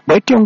Bwetyo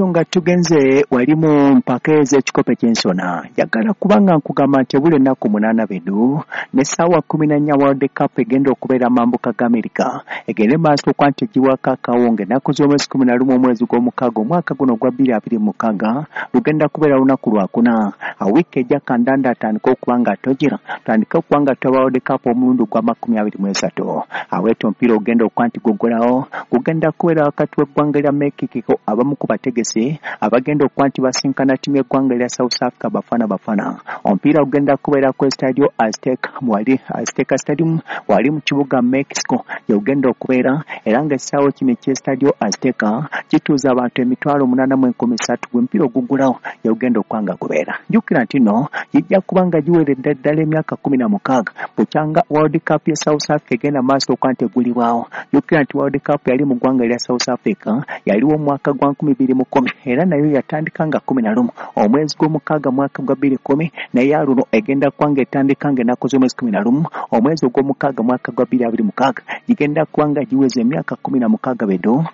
nga tugenze wali mu mpaka ez'ekikopo ky'ensona. Njagala kubanga nkugamba nti ebula ennaku 8 bedu n'essaawa 14 World Cup egenda okubeera mambuka ga Amerika, egende maaso okuba nti egiwako akawunga ennaku z'omwezi 11 omwezi gw'omukaaga omwaka guno ogwa 2026 lugenda kubeera lunaku lwakuna. Wiiki ejja kandanda atandike okuba nga tojera tandike okuba nga toba World Cup omulundi gwa 23. Aweeto omupiira ogenda okuba nti gugulawo gugenda kubeera wakati w'eggwanga lya Mexico abamu ku bategesi abagenda okuba nti basinkana ttiimu y'eggwanga lya South Africa Bafana Bafana. Omupiira ogenda kubeera ku Estadio Azteca wali Azteca Stadium wali mu kibuga Mexico gy'ogenda okubeera, era ng'essaawa kino eky'Estadio Azteca kituuza abantu 803,000 gwe mupiira ogugulawo gy'ogenda okuba nga gubeera. Jjukira nti nno gijja kuba nga giweredde ddala emyaka 16 bukyanga World Cup ya South Africa egenda maaso okuba nti eggulibwawo. Jjukira nti World Cup yali mu ggwanga lya South Africa yaliwo omwaka gwa 2010 era nayo yatandika nga 11 omwezi gw'omukaaga mwaka gwa 2010, naye aluno egenda kuba nga etandika nga ennaku z'omwezi 11 omwezi ogw'omukaaga mwaka gwa 2026 gigenda kuba nga giweza emyaka 16 bedo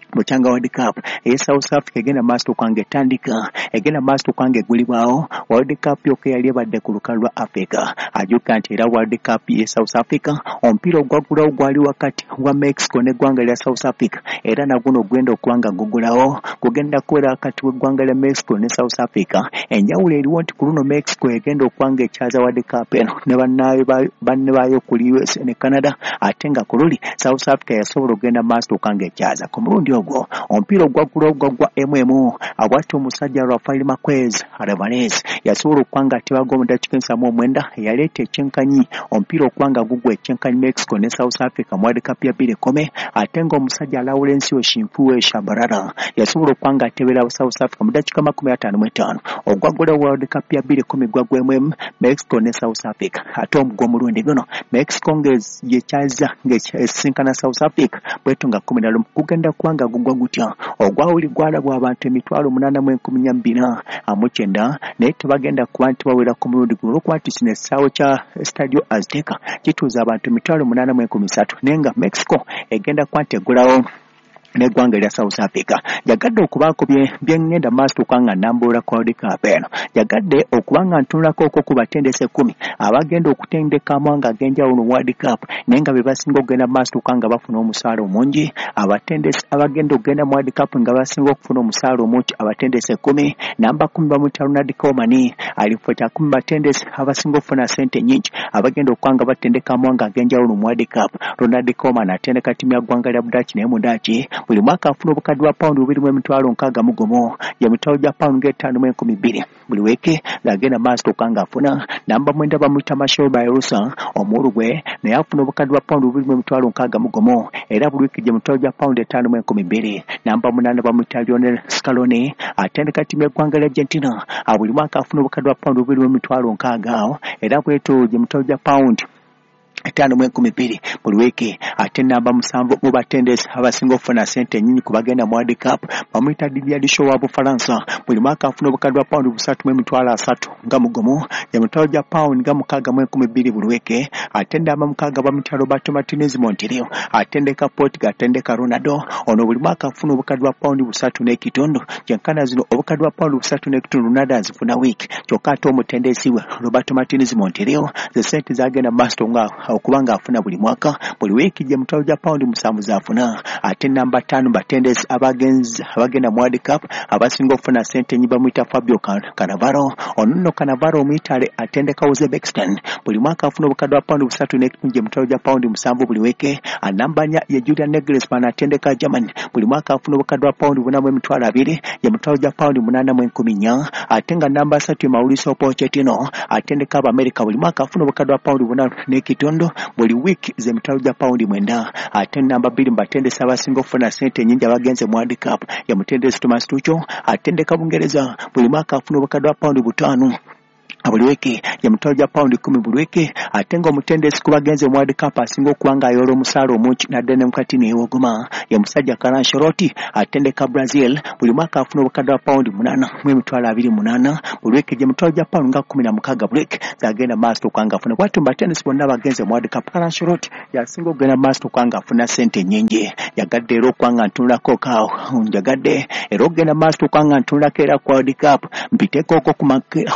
bukyanga World Cup eye South Africa egenda maaso okuba nga etandika, egenda maaso okuba nga eggulibwawo. World Cup yokka yali ebadde ku lukalu lwa Africa. Ajjukira nti era World Cup ye South Africa omupiira ogwaggulawo gwali wakati wa Mexico n'eggwanga lya South Africa, era naguno ogenda okuba nga gugulawo gugenda kubeera wakati w'eggwanga lya Mexico ne South Africa. Enjawulo eriwo nti ku luno Mexico egenda okuba nga ekyaza World Cup eno ne banne baayo kuli USA ne Canada, ate nga ku luli South Africa yasobola okugenda maaso okuba nga ekyaza. Ku mulundi ogwo omupiira ogwaggulawo gwaggwa emu abwati omusajja Rafael Marquez Alvarez yasobola okuba nga atebaga mu ddakiika 79 eyaleeta ekyenkanyi omupiira okuba nga gugwa ekyenkanyi Mexico ne South Africa mu World Cup ya 2010, ate nga omusajja Laurencio Simphiwe Tshabalala yasobola okuba nga atebera South Africa mu ddakiika 55. Ogwaggulawo World Cup ya 2010 gwaggwa emu Mexico ne South Africa, ate ogw'omulundi guno Mexico ng'ekyaza ng'esisinkana South Africa bwetyo nga 11 gugenda kuba nga gugwa gutya. Ogwawuli gwalabwa abantu 8,449, naye tebagenda kuba nti bawera ku mulundi guno olw'okuba nti kino essaawo kya Estadio Azteca kituuza abantu 8,003, naye nga Mexico egenda kuba nti eggulawo n'eggwanga erya South Africa. Njagadde okubaako bye ŋŋenda maaso okuba nga nnambulula ku World Cup eno. Njagadde okuba nga ntunulako okwo ku batendesi 10 abagenda okutendeka amawanga ag'enjawulo mu World Cup, naye nga be basinga okugenda maaso okuba nga bafuna omusaala omungi. Abatendesi abagenda okugenda mu World Cup nga basinga okufuna omusaala omungi abatendesi 10, namba 10 bamuyita Ronald Koeman, ali mu kifo kya 10 batendesi abasinga okufuna ssente ennyingi abagenda okuba nga batendeka amawanga ag'enjawulo mu World Cup. Ronald Koeman atendeka ttiimu ya ggwanga lya Budaaki, naye mu Daaki buli mwaka afuna obukadde bwa pawundi 261,000, gye mitwalo gya pawundi nga 5,002 buli wiiki ng'agenda maaso okuba ng'afuna. Namba 9 bamuyita Marcelo Bielsa Omuuruguay, naye afuna obukadde bwa pawundi 261,000, era buli wiiki gye mitwalo gya pawundi 5,002. Namba 8 bamuyita Lionel Scaloni atendeka ttiimu y'eggwanga lya Argentina, buli mwaka afuna obukadde bwa pawundi 260,000, era bwetyo gye mitwalo gya pawundi 5,002 buli wiiki. Ate namba 7 mu batendesi abasinga okufuna ssente ennyingi ku bagenda mu World Cup bamuyita Didier Deschamps wa Bufalansa, buli mwaka afuna obukadde bwa pawundi 331,000, gye mitwalo gya pawundi nga 6,002 buli wiiki. Ate namba 6 bamuyita Roberto Martinez Monterrey atendeka Portugal, atendeka Ronaldo, ono buli mwaka afuna obukadde bwa pawundi 3.5, kyenkana zino obukadde bwa pawundi 3.5 Ronaldo azifuna wiiki, kyokka ate omutendesi we Roberto Martinez Monterrey ze ssente zagenda maaso nga okuba ng'afuna buli mwaka buli wiiki gye mitwalo gya pawundi 7 z'afuna. Ate namba 5 batendesi abagenda mu World Cup abasinga okufuna ssente ennyingi bamuyita Fabio Cannavaro, ono nno Cannavaro Omuyitale atendeka Uzbekistan, buli mwaka afuna obukadde bwa pawundi 3.5 gye mitwalo gya pawundi 7 buli wiiki. Namba 4 ye Julian Nagelsmann atendeka Germany, buli mwaka afuna obukadde bwa pawundi 420,000 gye mitwalo gya pawundi 8,400. Ate nga namba 3 ye Mauricio Pochettino atendeka Abamerika, buli mwaka afuna obukadde bwa pawundi 4.5 buli wiiki ze mitwalo gya pawundi 9. Ate namba 2 mu batendesi abasinga okufuna ssente ennyingi abagenze mu World Cup ye mutendesi Thomas Tuchel atendeka Bungereza, buli mwaka afuna obukadde bwa pawundi 5 Buli wiiki ye mitwalo gya pawundi 10 buli wiiki. Ate ng'omutendesi ku bagenze mu World Cup asinga okuba ng'ayoola omusaala omungi nadde ne mukati neewogoma ye musajja Carlo Ancelotti atendeka Brazil. Buli mwaka afuna obukadde bwa pawundi 8 mu emitwalo 28 buli wiiki, gye mitwalo gya pawundi nga 16 buli wiiki zagenda maaso okuba ng'afuna. Bw'atyo mu batendesi bonna abagenze mu World Cup, Carlo Ancelotti yasinga okugenda maaso okuba ng'afuna ssente nnyingi. Njagadde era okuba nga ntunulako kaawo, njagadde era okugenda maaso okuba nga ntunulako era ku World Cup, mpiteekoko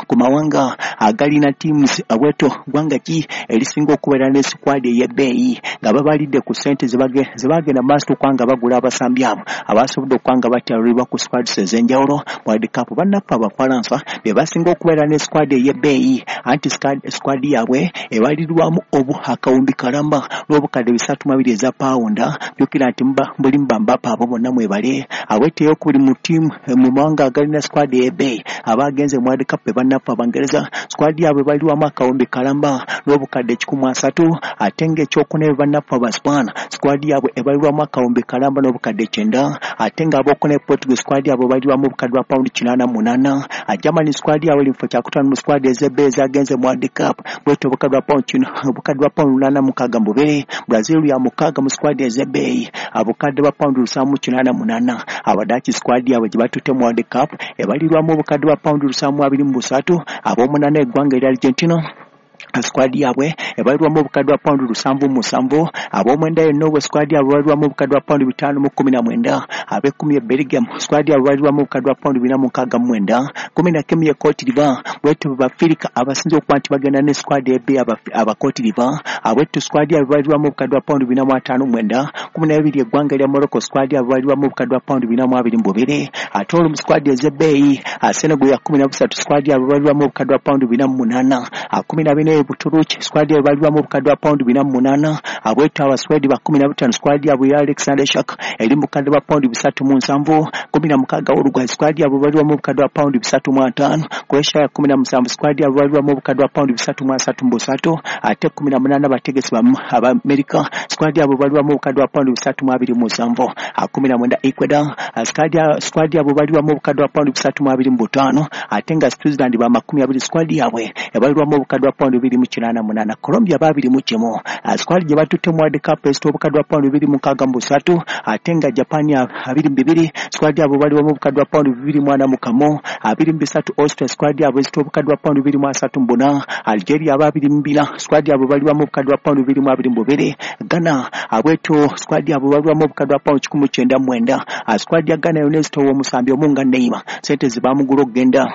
ku mawanga agalina teams. Abweto ggwanga ki erisinga okubeera ne squad ey'ebbeeyi nga babalidde ku ssente ze bagenda maaso okuba nga bagula abasambi abo abasobodde okuba nga batyalulibwa ku squads ez'enjawulo mu World Cup? Bannaffe Abafalansa be basinga okubeera ne squad ey'ebbeeyi, anti squad yaabwe ebalirwamu obu akawumbi kalamba n'obukadde 302 eza pawunda. Jjukira nti muba mulimu ba Mbappe, abo bonna mwebale. Abweto eyokubiri mu ttiimu mu mawanga agalina squad ey'ebbeeyi abagenze mu World Cup be bannaffe Abangereza, squad yaabwe balirwamu akawumbi kalamba n'obukadde 130. Ate ng'ekyokuna be bannaffe Abaspaana, squad yaabwe ebalirwamu akawumbi kalamba n'obukadde 90. Ate ng'abokuna Portugal, squad yaabwe balirwamu obukadde bwa pawundi 88. Germany squad yaabwe eri mu kifo kyakutaano mu squad ez'ebbeeyi ezagenze mu World Cup, bwetyo obukadde bwa pawundi kino obukadde bwa pawundi 862. Brazil ya mukaaga mu squad ez'ebbeeyi, obukadde bwa pawundi 788. Abadaaki squad yaabwe gye batutte mu World Cup ebalirwamu obukadde bwa pawundi 723. Ab'omunaana eggwanga erya Argentina, squad yaabwe ebalirwamu obukadde bwa pawundi 77. Ab'omwenda yonna obwe squad yaabwe ebalirwamu obukadde bwa pawundi 519. Ab'ekkumi e Belgium, squad yaabwe ebalirwamu obukadde bwa pawundi 469. 11 ye Cote d'Ivoire. Bwetyo bafirika abasinze okuba nti bagenda ne squad ebbeeyi aba Cote d'Ivoire, abwetyo squad yaabwe ebalirwamu obukadde bwa pawundi 459. 12 eggwanga erya Morocco, squad yaabwe ebalirwamu obukadde bwa pawundi 422. Ate olwo mu squad ez'ebbeeyi, Senegal ya 13, squad yaabwe ebalirwamu obukadde bwa pawundi 48. 14 Buturuki, squad yaabwe ebalirwamu obukadde bwa pawundi 48. Abweto Abaswedi ba 15, squad yaabwe ya Alexander Isak eri mu bukadde bwa pawundi 307. 16 Uruguay, squad yaabwe ebalirwamu obukadde bwa pawundi 350. Croatia ya 17, squad yaabwe ebalirwamu obukadde bwa pawundi 333. Ate 18 abategesi Abamerika, squad yaabwe ebalirwamu obukadde bwa pawundi 327. 19 Ecuador, squad yaabwe ebalirwamu obukadde bwa pawundi 325. Ate nga Switzerland ba 20, squad yaabwe ebalirwamu obukadde bwa pawundi 288. Colombia 21, squad gye batutte mu World Cup esita obukadde bwa pawundi 263. Ate nga Japan 22, squad yaabwe balirwamu obukadde bwa pawundi 241. 23 Austria, squad yaabwe esita obukadde bwa pawundi 234. Algeria aba 24, squad yaabwe balirwamu obukadde bwa pawundi 222. Ghana abweto squad yaabwe balirwamu obukadde bwa pawundi 199. Squad ya Ghana yonna ezitowa omusambi omu nga Neymar, sente zebamugula okugenda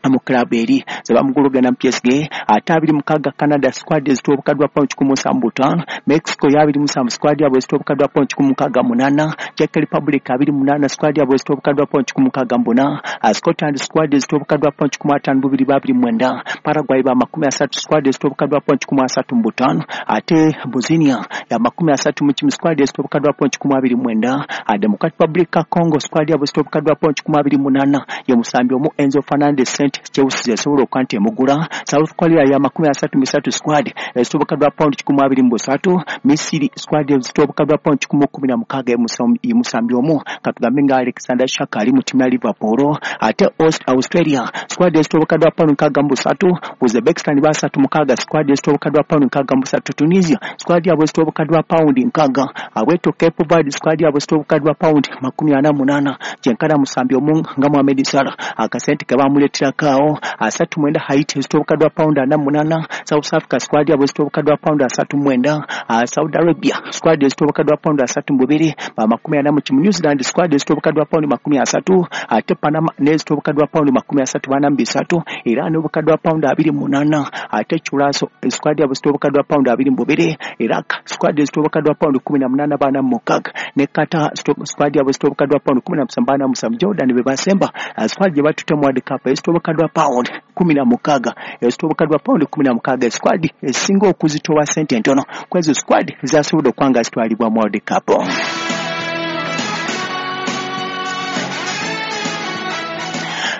mu club eri zebamugula okugenda mu PSG. Ate 26 Canada, squad ezitowa obukadde bwa pawundi 175. Mexico ya 27, squad yaabwe ezitowa obukadde bwa pawundi 168. Czech Republic 28, squad yaabwe ezitowa obukadde bwa pawundi 164. Scotland squad ezitowa obukadde bwa pawundi 152 29. Paraguay ba 30, squad ezitowa obukadde bwa pawundi 135. Ate Bosnia ya 31, squad ezitowa obukadde bwa pawundi 129. Democratic Republic ya Congo, squad yaabwe ezitowa obukadde bwa pawundi 128, ye musambi omu Enzo Fernandez, sente Chelsea esobola okuba nti emugula. South Korea ya 33, squad ezitowa obukadde bwa pawundi 123. Misiri squad ezitowa obukadde bwa pawundi 116, ye musambi omu katugambe nga Alexander Isak ali mu ttiimu ya Liverpool. Ate Australia squad ezitowa obukadde bwa pawundi 63. Uzbekistan 36, squad ezitowa obukadde bwa pawundi 63. Tunisia squad yaabwe ezitowa obukadde bwa pawundi 60. Abweto Cape Verde squad yaabwe ezitowa obukadde bwa pawundi 48, kyenkana musambi omu nga Mohamed Salah akasente ke bamuleeterako awo. 39 Haiti ezitowa obukadde bwa pawundi 48. South Africa squad yaabwe ezitowa obukadde bwa pawundi 39. Saudi Arabia squad ezitowa obukadde bwa pawundi 32, ba 41. New Zealand squad ezitowa obukadde bwa pawundi 30. Ate Panama n'ezitowa obukadde bwa pawundi 34 era n'obukadde bwa pawundi 28. Ate Curacao squad yaabwe ezitowa obukadde bwa pawundi 22. Iraq squad ezitowa obukadde bwa pawundi 18 46, ne Qatar squad yaabwe ezitowa obukadde bwa pawundi 17 47. Jordan be basemba, squad gye batutte mu World Cup ezitowa obukadde bwa pawundi 16, ezitowa obukadde bwa pawundi 16, squad esinga okuzitowa sente entono kwezo squad zasobodde okuba nga zitwalibwa mu World Cup.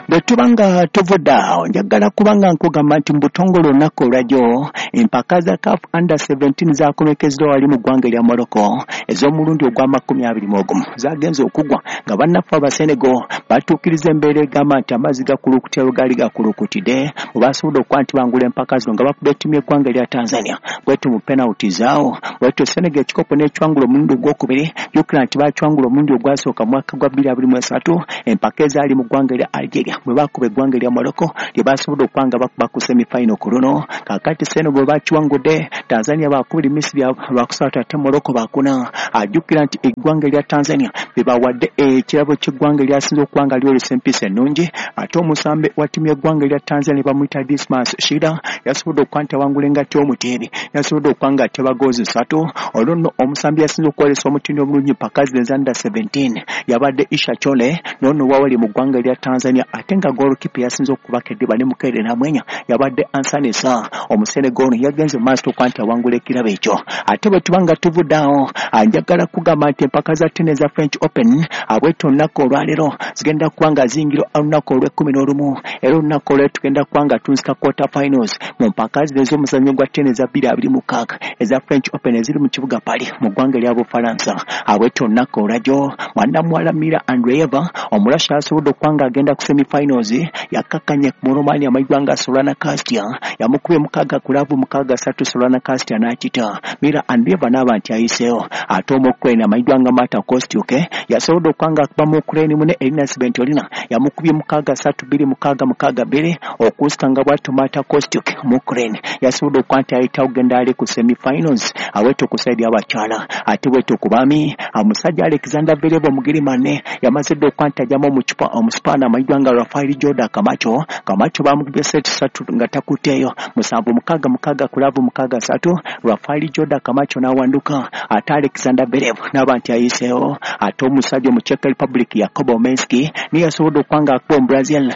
Bwe tuba nga tuvudde awo, njagala kubanga nkugamba nti mu butongole olunaku olwajjo empaka za CAF Under 17 zakomekezeddwa wali mu ggwanga erya Morocco ez'omulundi ogwa 21 zagenze okugwa nga bannaffe Abasenego batuukiriza embeera egamba nti amazzi gakulukutira we gaali gakulukutidde bwe basobodde okuba nti bangula empaka zino nga bakubye ttiimu y'eggwanga erya Tanzania bwetyo mu penalty zaawo. Bwetyo Senegal ekikopo n'ekiwangula omulundi ogwokubiri. Jjukira nti baakiwangula omulundi ogwasooka mu mwaka gwa 2023 empaka ezaali mu ggwanga erya Algeria bwe baakuba eggwanga erya Morocco lye baasobodde okuba nga bakuba ku semifinal ku luno. Kaakati Senegal bwe bakiwangudde, Tanzania baakubiri, Misiri bakusatu ate Morocco baakuna. Ajjukira nti eggwanga erya Tanzania be bawadde ekirabo ky'eggwanga eryasinze okuba nga lyolesa empisa ennungi. Ate omusambi wa ttiimu y'eggwanga erya Tanzania bamuyita Dismas Shida yasobodde okuba nti awangula engatto y'omuteebi, yasobodde okuba nga ateba goozi 3. Olwo nno omusambi yasinze okwolesa omutindo omulungi mpaka zino eza under 17 yabadde Isha Chole n'ono wawali mu ggwanga erya Tanzania, ate nga goalkeeper yasinze okubaka eddiba ne Mukeere Namwenya yabadde Ansanesa. Omusenegal ono yagenze mu maaso okuba nti awangula ekirabo ekyo. Ate bwe tuba nga tuvudde awo, njagala kugamba nti empaka za tennis za French Open abwetyo olunaku olwaleero zigenda kuba nga ziyingira olunaku olw'e11, era olunaku olwaleero tugenda kuba nga tunzika quarter finals mu mpaka zino ez'omuzannyo gwa tennis za 2026 eza French Open eziri mu kibuga Paris mu ggwanga erya Bufalansa. Abwetyo olunaku olwajjo mwana muwala Mira Andreeva Omurasha asobodde okuba nga agenda ku semifinals, yakkakkanye mu Romania amayiggwa nga Solana Kastia yamukubye 6 ku 6-3 Solana Kastia n'akita Mira Andreeva n'aba nti ayiseewo. Ate Omuukraine amayiddwa nga Marta Kostyuk yasobodde okuba nga akuba mu Ukraine mune Elina Svitolina yamukubye 6-3 2-6 6-2 okusika nga bw'atyo Marta Kostyuk Omuukraine yasobodde okuba nti ayitawo kugenda ali ku semifinals awetyo ku side y'abakyala. Ate bwetyo ku baami, omusajja Alexander Zverev Omugirimane yamaze dda okuba nti ajjamu Omusipaani amayiddwa nga Rafael Jordan Camacho. Camacho bamukubye set 3 nga takutteeyo, 7-6 6 6-3, Rafael Jordan Camacho n'awanduka, ate Alexander Zverev n'aba nti ayiseewo. Ate omusajja omu Czech Republic Jakob Menski niye yasobodde okuba nga akuba Omubrazil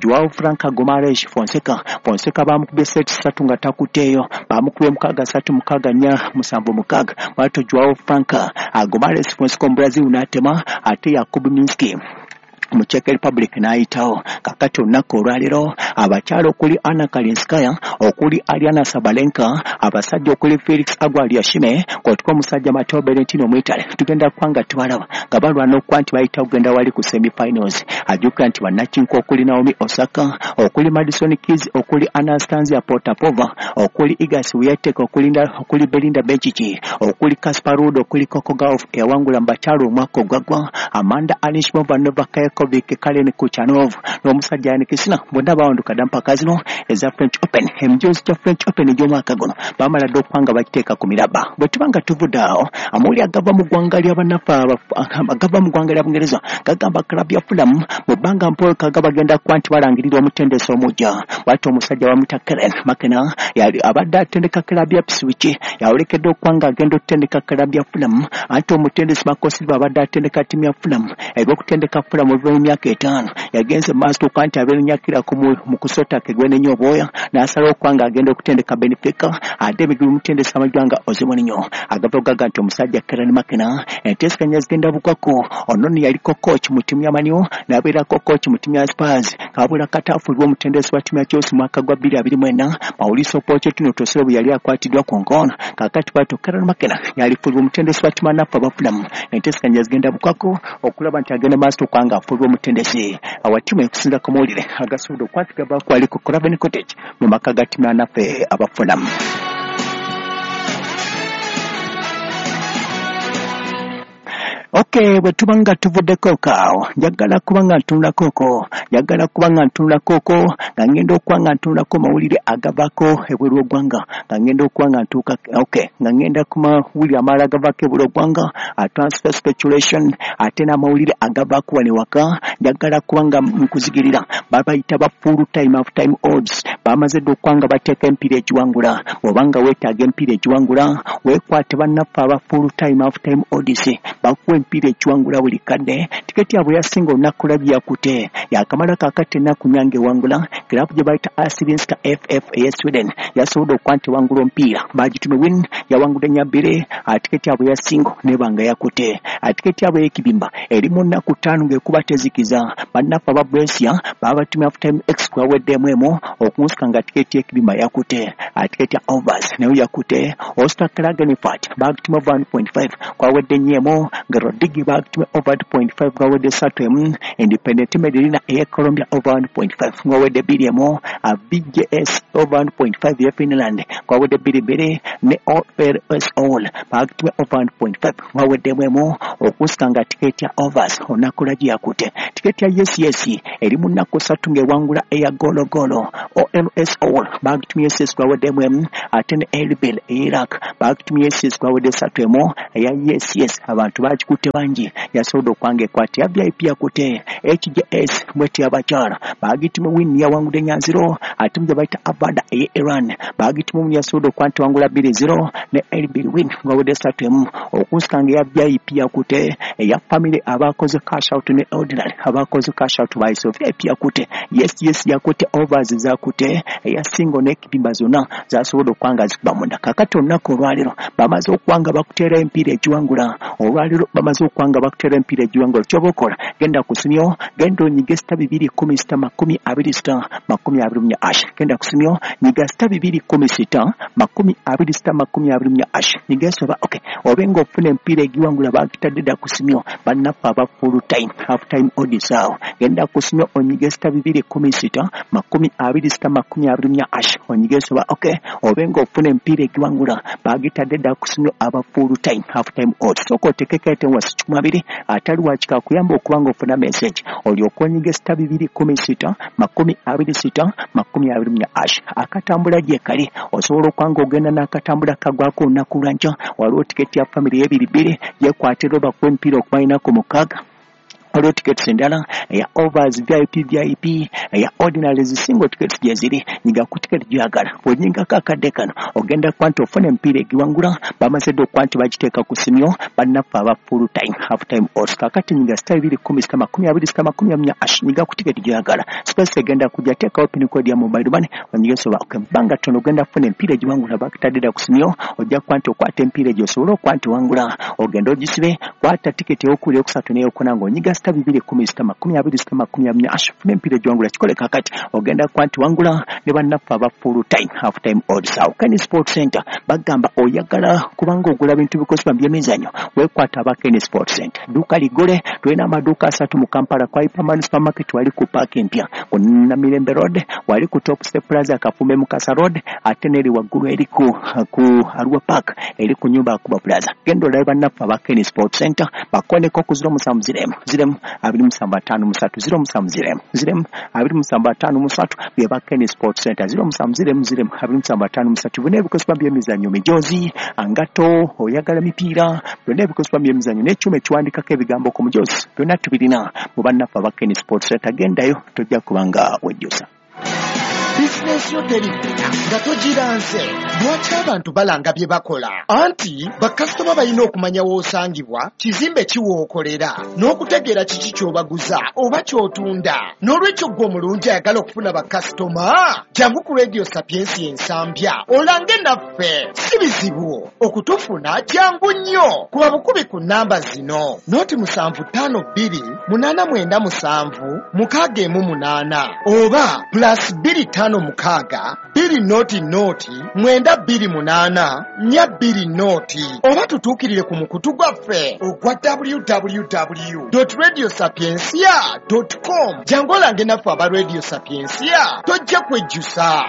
Joao Franca Gomares Fonseca. Fonseca bamukubye set 3 nga takutteeyo, bamukubye 6-3 6-4 7-6, bw'atyo Joao Franca Gomares Fonseca Omubrazil n'atema, ate Jakub Minski mu Czech Republic n'ayitawo. Kakati olunaku olwaleero abakyala okuli Anna Kalinskaya, okuli Ariana Sabalenka, abasajja okuli Felix Auger-Aliassime kwotuka omusajja Matteo Berrettini Omwitale, tugenda kuba nga tubalaba nga balwana okuba nti bayitawo kugenda wali ku semifinals. Ajjukira nti bannakinku okuli Naomi Osaka, okuli Madison Keys, okuli Anastasia Potapova, okuli Iga Swiatek, okuli Belinda Bencic, okuli Casper Ruud, okuli Coco Gauff eyawangula mu bakyala omwaka ogwaggwa, Amanda Anisimova, Novak Djokovic, Karen Khachanov n'omusajja Jannik Sinner bonna bawanduka dda mpaka zino eza French Open. Emijoozi gya French Open egy'omwaka guno bamala dda okuba nga bagiteeka ku mirabba. Bwe tuba nga tuvudde awo, amawulire agava mu ggwanga lya bannaffe agava mu ggwanga lya Bungereza gagamba club ya Fulham mu bbanga mpokaga bagenda kuba nti balangirira omutendesi omujja. Bw'atyo omusajja bamuyita Karen McKenna yali abadde atendeka club ya Ipswich yawolekedde okuba nga agenda okutendeka club ya Fulham. Anti omutendesi Marco Silva abadde atendeka ttiimu ya Fulham, ebyokutendeka Fulham oluvannyuma emyaka 5 yagenze mu maaso okuba nti abeerunyakirako mu kusota ke gwenenya obwoya n'asalawo okuba nga agenda okutendeka Benfica, ate ebigulu omutendesi amaggwa nga Jose Mourinho agava okugaga nti omusajja Karen McKenna enteeseganya zigenda bukwako. Ono nno yaliko coach mu ttiimu ya Man U n'abeerako coach mu ttiimu ya Spurs, kabula katafuulibwa omutendesi wa ttiimu ya Chelsea mwaka gwa 2024 Mauricio Pochettino Tosero bwe yali akwatiddwa ku nkono. Kaakati bw'atyo Karen McKenna yalifuulibwa omutendesi wa ttiimu anaffe aba Fulham, enteeseganya zigenda bukwako okulaba nti agenda maaso okuba nga afuulibwa omutendesi wa ttiimu ekusinza ku mawulire agasobodde okukwatibwa bakwali ku Craven Cottage mu maka ga ttiimu anaffe aba Fulham. Okay, bwe tuba nga tuvuddeko kaawo, njagala kuba nga ntunulako ko, njagala kuba nga ntunulako ko, nga ngenda okuba nga ntunulako mawulire agavaako ebweru w'eggwanga, nga ngenda okuba nga ntuuka, okay, nga ngenda ku mawulire amalala agavaako ebweru w'eggwanga, transfer speculation, ate n'amawulire agavaako wano ewaka, njagala kuba nga nkuzigirira. Babayita ba full time half time odds, bamaze dda okuba nga bateeka empiira egiwangula. Bw'oba nga weetaaga empiira egiwangula, weekwate bannaffe aba full time half time odds, bakuwa empiira ekiwangula buli kadde. Tiketi yabwe yasinga olunaku lwabyo yakute yakamala kakati ennaku nyange ewangula kirabu gye bayita Assyriska FF eya Sweden yasobodde okuba nti ewangula omupiira bagitume win yawangudde nnya-bbiri. Tiketi yabwe yasingo nebanga yakute. Tiketi yabwe ey'ekibimba eri mu nnaku ttaano ng'ekuba tezikiza. Bannaffe aba Brescia babatumye half time x kwaweddemu emu okunsika nga tiketi y'ekibimba yakute. Tiketi ya overs nayo yakute. Oscar Klagenfurt bagitumye over 1.5 kwawedde nnyo emu nga Rodigi bagitumye over 2.5 kwawedde 3 emu. Independent Medellin eya Colombia over 1.5 kwawedde 2 emu. VJS over 1.5 ya Finland kwawedde 2-2 ne OLS All bagitumye over 1.5 kwaweddemu emu okusika nga tiketi ya overs olunaku lwagi yakute. Tiketi ya yes yes eri mu nnaku ssatu ng'ewangula eya gologolo. OLS All bagitumye yes yes kwaweddemu emu ate ne Erbil e Iraq bagitumye yes yes kwawedde 3 emu. Eya yes yes abantu bagikutte bangi yasobodde okwanga ekwata. Ya VIP yakute. HJS mweti abakyala bagitumye win yawangudde 4-0 ate mu gye bayita Abada eye Iran bagitumye win yasobodde okuba nti wangula 2-0 ne Erbil win ngawedde 3 emu okusika nga eya VIP yakute. Eya family abakoze cash out ne ordinary abakoze cash out bayise VIP yakute, yes yes yakute, overs zakute, eya single n'ekibimba zonna zasobodde okuba nga zikuba munda. Kakati olunaku olwaleero bamaze okuba nga bakuteera empiira egiwangula. Olwaleero bamaze okuba nga bakuteera empiira egiwangula. Kyoba okola, genda ku simyo, genda onyige *216 26 *24 hash. Genda ku simyo, nyiga *216 26 24 hash, nyiga esoba okay obe ng'ofuna empiira egiwangula bagitadde dda ku simyo bannaffe aba full time half time odds awo. Genda ku simyo onyige *216 26 24 hash, onyige esoba okay obe ng'ofuna empiira egiwangula bagitadde dda ku simyo aba full time half time odds. Sooka otekeko ete wasi 20 atali wakika kuyamba okuba ng'ofuna message olyoka onyige *216 26 24 hash. Akatambula gye kali osobola okuba ng'ogenda n'akatambula kagwako olunaku lwankya. Waliwo tiketi ya family y'ebiri bbiri yekwatira obakuwa emipiira okumalinaku 6. Waliwo tickets endala eya overs, VIP, VIP eya ordinary, single tickets gyeziri. Nyiga ku ticket gyagala bw'onyigako akadde kano ogenda kuba nti ofuna emipiira egiwangula bamaze dde okuba nti bagiteeka ku simyo bannaffe aba full time half time odds. Kakati nyiga *216 26 24 hash, nyiga ku ticket gyagala, space egenda kujja, teekawo pin code ya mobile money onyige soba ebbanga ttono ogenda kufuna emipiira egiwangula bakitadde dda ku simyo. Ojja kuba nti okwata emipiira egyo osobole okuba nti wangula ogenda ogisibe. Kwata tiketi eyokubiri, eyokusatu n'eyokuna ng'onyiga *216 26 24 hash, funa emipiira egiwangula. Kikole kakati ogenda kuba nti wangula ne bannaffe aba full time half time odds awo. Ken Sport Center bagamba oyagala kubanga ogula bintu bikozesebwa mu byemizannyo, weekwata aba Ken Sport Center. Dduuka ligole, tulina amaduuka asatu mu Kampala: kwa Hyperman Supermarket wali ku paaka empya ku Namirembe Road, wali ku Top Step Plaza Kafumbe Mukasa Road, ate n'eri waggulu eri ku Arua Park eri ku nyumba Akuba Plaza. Genda olabe bannaffe aba Ken Sport Center, bakoneko ku 07 0 0 2753, 07 0 0 2753 bye ba Ken Sport Center, 07 0 0 2753. Byonna ebikozesebwa by'emizannyo, mijozi, angato, oyagala mipiira, byonna ebikozesebwa by'emizannyo n'ekyuma ekiwandikako ebigambo ku mujozi, byonna tubirina mu bannaffe aba Ken Sport Center. Gendayo tojja kubanga wejjusa. Bizinensi yo teriggula nga togiranze. Lwaki abantu balanga bye bakola? Anti bakasitoma balina okumanya w'osangibwa, kizimbe kiwookolera, n'okutegeera kiki ky'obaguza oba ky'otunda. N'olwekyo ggwe omulungi ayagala okufuna bakasitoma, jangu ku Radio Sapiensi Ensambya olange naffe. Si bizibu okutufuna, jangu nnyo kuba bukubi ku nnamba zino: 075 2897 618 oba +256 200 928 420, oba tutuukirire ku mukutu gwaffe ogwa www radio sapiencia com. Jangu olange naffe aba Radio Sapiencia, tojja kwejjusa.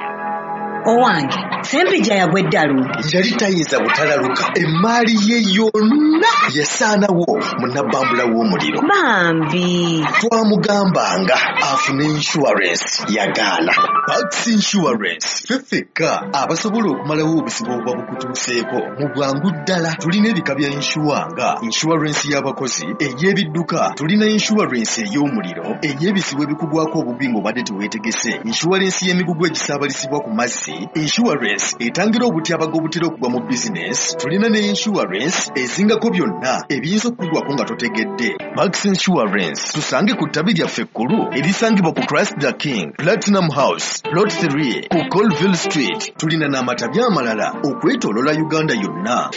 Owange Sempijja yagwa eddalu. Yali tayinza butalaluka, emaali ye yonna yasaanawo mu nabbambula w'omuliro. Bambi. Twamugambanga afune insurance, yagaana. Pax Insurance ffe ffekka abasobola okumalawo obuzibu obuba bukutuuseeko mu bwangu ddala. Tulina ebika bya insure nga insurance y'abakozi, ey'ebidduka, tulina insurance ey'omuliro, ey'ebizibu ebikugwako obugwi ng'obadde teweetegese, insurance y'emigugu egisaabalizibwa ku mazzi. Health, insurance etangira obutyabaga obutera okugwa mu bizinesi. Tulina ne insurance ezingako byonna ebiyinza okugwako nga totegedde. Pax Insurance tusange ku ttabi lyaffe ekkulu erisangibwa ku Christ the King Platinum House Plot 3 ku Colville Street. Tulina n'amatabi amalala okwetooloola Uganda yonna.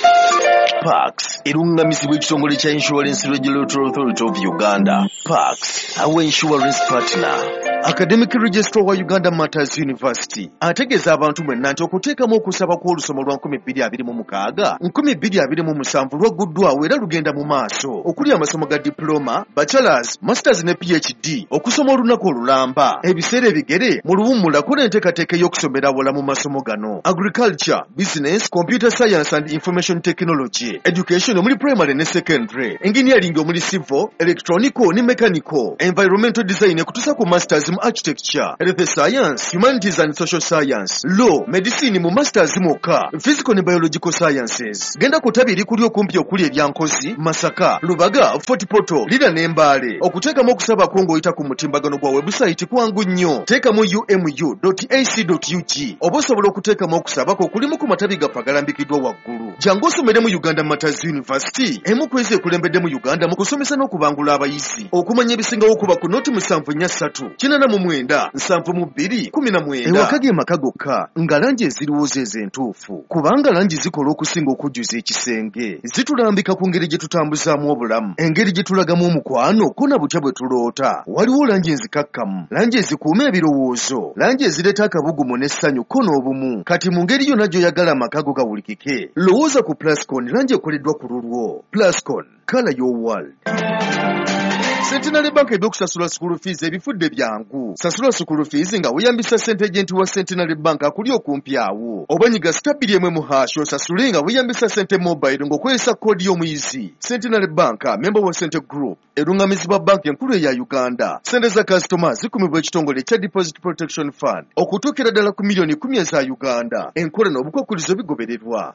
Pax erungamizibwa ekitongole kya Insurance Regulatory Authority of Uganda. Pax, our insurance partner. Academic Registrar wa Uganda Martyrs University ategeeza abantu mwenna nti okuteekamu okusaba kw'olusoma lwa 2026 2027 lwagguddwawo era lugenda mu maaso, okuli amasomo ga diploma, bachelors, masters ne PhD, okusoma olunaku olulamba, ebiseera ebigere mu luwummula, kola enteekateeka ey'okusomera awala mu masomo gano: agriculture, business, computer science and information technology, education omuli primary ne secondary, engineering omuli civil, electronical ne mechanical, environmental design ekutuusa ku masters mu architecture, health science, humanities and social science, law, medicine mu masters mwokka, physical ne biological sciences. Genda ku ttabi erikuli okumpi okuli erya Nkozi, Masaka, Lubaga, Fort Portal, Lira ne Mbale. Okuteekamu okusabako ng'oyita ku mutimbagano gwa website kwangu nnyo. Teekamu umu.ac.ug oba osobola okuteekamu okusabako kulimu ku matabi gaffe agalambikiddwa waggulu. Jangu osomere mu Uganda Martyrs University, emu ku ezo ekulembedde mu Uganda mu kusomesa n'okubangula abayizi. Okumanya ebisingawo kuba ku noti 743 89 72 19. Ewaka ge maka gokka nga langi eziriwo zezo entuufu, kubanga langi zikola okusinga okujjuza ekisenge. Zitulambika ku ngeri gye tutambuzaamu obulamu, engeri gye tulagamu omukwano, ko na butya bwe tuloota. Waliwo langi enzikakkamu, langi ezikuuma ebirowoozo, langi ezireeta akabugumu n'essanyu ko n'obumu. Kati mu ngeri yonna gy'oyagala amaka go gawulikike, lowooza ku Plascon, langi ekoleddwa ku lulwo. Plascon, colour your world. Centenary Bank ebyokusasula school fees ebifudde byangu. Sasula school fees nga weeyambisa sente agent wa Centenary Bank akuli okumpi awo, oba nyiga *2 1 mu hash osasule nga weeyambisa sente mobile ng'okozesa koodi y'omuyizi. Centenary Bank, member wa Sente Group, erungamizibwa banka enkulu eya Uganda. Sente za kasitoma zikumibwa ekitongole ekya Deposit Protection Fund okutuukira ddala ku miliyoni 10 eza Uganda. Enkola n'obukwakulizo bigobererwa.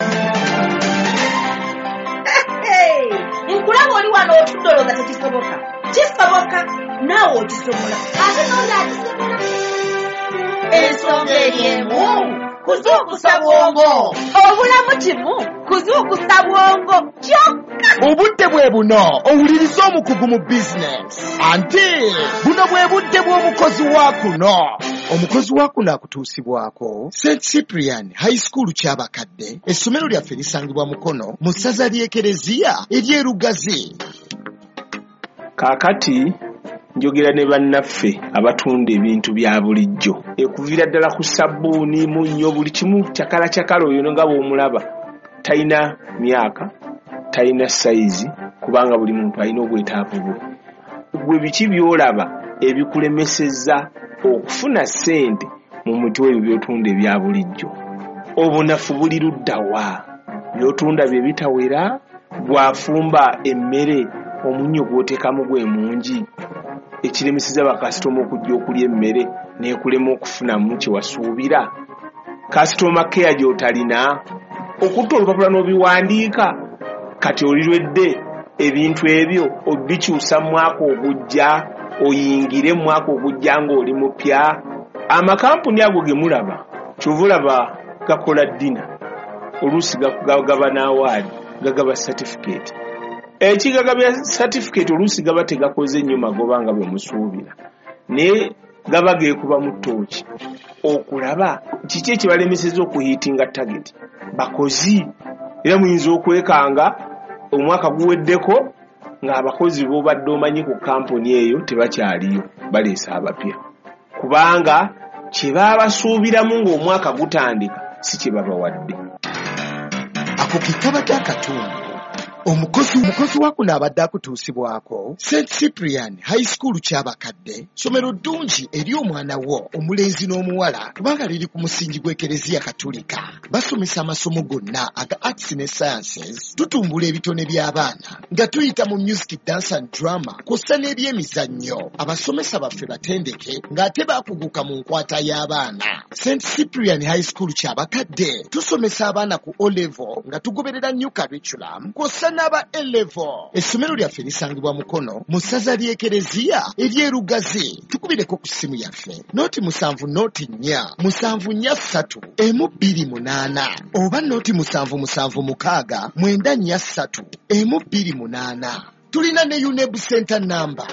Nkulaba oli wano otudde olowooza tekisoboka. Kisoboka, naawe okisobola, ate n'oli akisobola. Ensonga eri emu: kuzuukusa bwongo. Obulamu kimu kuzuukusa bwongo kyokka. Obudde bwe buno owulirize omukugu mu bizinesi, anti buno bwe budde bw'omukozi wa kuno. Omukozi wa kuno akutuusibwako St Cyprian High School Kyabakadde. Essomero lyaffe lisangibwa Mukono mu ssaza ly'Ekereziya ery'Erugazi. Kaakati njogera ne bannaffe abatunda ebintu bya bulijjo, ekuviira ddala ku sabbuuni, munnyo, buli kimu cakala cakala. Oyo nga bw'omulaba talina myaka, talina sayizi, kubanga buli muntu alina obwetaavu bwe. Gwe biki by'olaba ebikulemesezza okufuna ssente mu muti ebyo by'otunda ebya bulijjo? Obunafu buli ludda wa? By'otunda bye bitawera? Gw'afumba emmere, omunnyo gw'oteekamu gwe mungi ekiremeseza bakasitoma okujja okulya emmere n'ekulema okufunamu kye wasuubira? Customer care gy'otalina, okutta olupapula n'obiwandiika, kati olirwedde ebintu ebyo obikyusa mu mwaka ogujja, oyingire mu mwaka ogujja ng'oli mupya. Amakampuni ago ge mulaba, kyova olaba gakola dinner, oluusi gaba n'award, gagaba certificate. Ekigagabya certificate oluusi gaba tegakoze nnyo magoba nga bwe musuubira, naye gaba geekubamu ttooki okulaba kiki ekibalemeseza okuhittinga target. Bakozi era muyinza okwekanga omwaka guweddeko ng'abakozi b'obadde omanyi ku kampuni eyo tebakyaliyo, baleese abapya, kubanga kye baabasuubiramu ng'omwaka gutandika si kye babawadde. Ako ke kabadde akatundu omukozi wa kuno abadde akutuusibwako St Cyprian High School Kyabakadde. Ssomero ddungi eri omwana wo omulenzi n'omuwala, kubanga liri ku musingi gw'Ekereziya Katulika. Basomesa amasomo gonna aga arts ne sciences. Tutumbula ebitone by'abaana nga tuyita mu music, dance and drama, kw'ossa n'ebyemizannyo. Abasomesa baffe batendeke ng'ate baakuguka mu nkwata y'abaana. St Cyprian High School Kyabakadde tusomesa abaana ku O level nga tugoberera new curriculum, kw'ossa n'aba A-level. Essomero lyaffe lisangibwa Mukono mu ssaza ly'Ekereziya ery'Erugazi. Tukubireko ku ssimu yaffe 0 70 4 7 3 1 2 8 oba 0 7 7 6 9 4 3 1 2 8. Tulina ne UNEB Center number